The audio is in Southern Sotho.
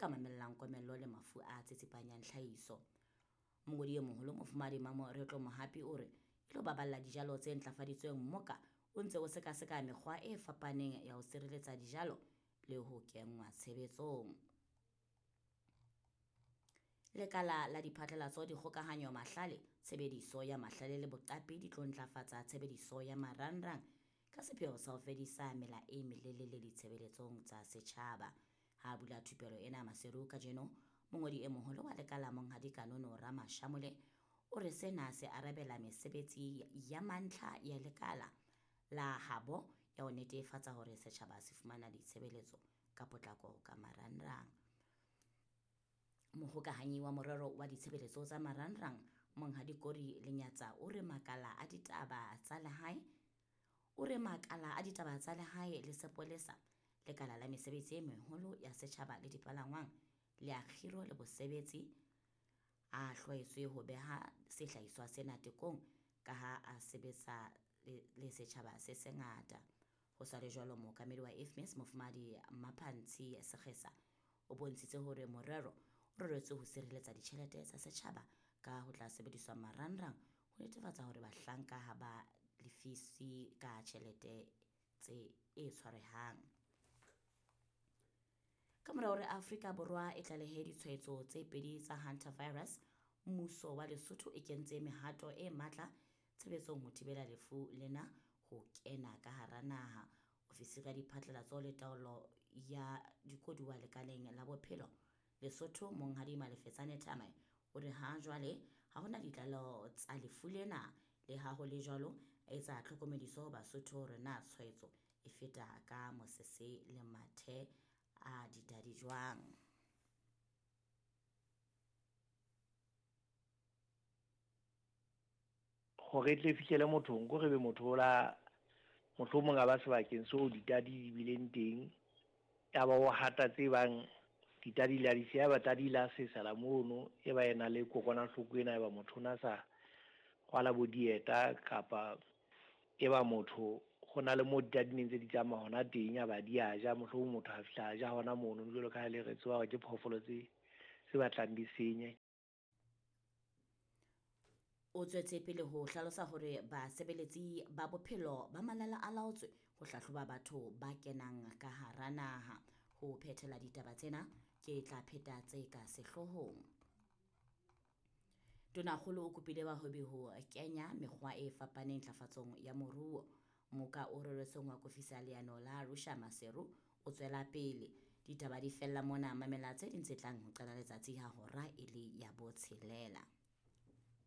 ka mamellang komello le mafu a tsitsipanyang tlhahiso. Mongodi e moholo Mofumahadi Mamoretlo Mohapi o re e tlo baballa dijalo tse ntlafaditsweng mmoka o ntse o sekaseka mekgwa e fapaneng ya ho sireletsa dijalo le ho kenngwa tshebetsong. Lekala la diphatlalatso, dikgokahanyo, mahlale, tshebediso ya mahlale le boqapi di tlo ntlafatsa tshebediso ya marangrang ka sepheo sa ho fedisa mela e melelele ditshebeletsong tsa setjhaba. Ha bula thupelo ena Maseru kajeno, mongodi e moholo wa lekala Monghadi Kanono Ramashamole o re sena se arabela mesebetsi ya mantlha ya lekala la habo ya ho netefatsa hore setjhaba se fumana ditshebeletso ka potlako ka marangrang. Mohokahanyi wa morero wa ditshebeletso tsa marangrang Monghadi Kori Lenyatsa o re makala a ditaba tsa lehae o re makala a ditaba tsa lehae le sepolesa, lekala la mesebetsi e meholo ya setjhaba le dipalangwang, le a kgiro le bosebetsi a hlwaetswe ho beha sehlahiswa sena tekong ka ha a sebetsa le setjhaba se sengata. Ho sa le jwalo, mookamedi wa IFMIS Mofumahadi Mmaphantshi Sekgesa o bontshitse hore morero o reretswe ho sireletsa ditjhelete tsa setjhaba ka ho tla sebediswa marangrang ho netefatsa hore bahlanka ha ba lefiswe ka tjhelete tse e tshwarehang. Ka mora hore Afrika Borwa e tlalehe ditshwaetso tse pedi tsa hantavirus, mmuso wa Lesotho e kentse mehato e matla tshebetsong ho thibela lefu lena ho kena ka hara naha. Ofisiri ya diphatlalatso le taolo ya dikoduwa lekaleng la bophelo Lesotho Monghadi Malefetsane Thamae o re ha jwale ha hona ditlaleho tsa lefu lena. Le ha ho le jwalo, a etsa tlhokomediso ho Basotho hore na tshwaetso e feta ka mosese le mathe a ditadi jwang. Hore e tle e fihlele mothong, ko re be motho o la mohlomong a ba sebakeng seo ditadi di bileng teng, ya ba o hata tse bang ditadi la di siya, ba tadi la sesela mono, e ba e na le kokwanahloko ena, e ba motho o na sa rwala bo dieta, kapa e ba motho ho na le mo ditadi neng tse di tsamaya hona teng, ya ba di a ja, mohlomong motho a fihla a ja hona mono, jwalo ka ha le re tseba hore ke phoofolo tse batlang di senye. O tswetse pele ho hlalosa hore basebeletsi ba bophelo ba malala a laotswe ho hlahloba batho ba kenang ka hara naha. Ho phethela ditaba tsena ke tla pheta tse ka sehloohong. Tonakgolo o kopile bahwebi ho kenya mekgwa e fapaneng ntlafatsong ya moruo. Moka o reretsweng ho akofisa leano la Arusha Maseru o tswela pele. Ditaba di fella mona, mamela tse ding tse tlang ho qala letsatsi ha hora e le ya 6.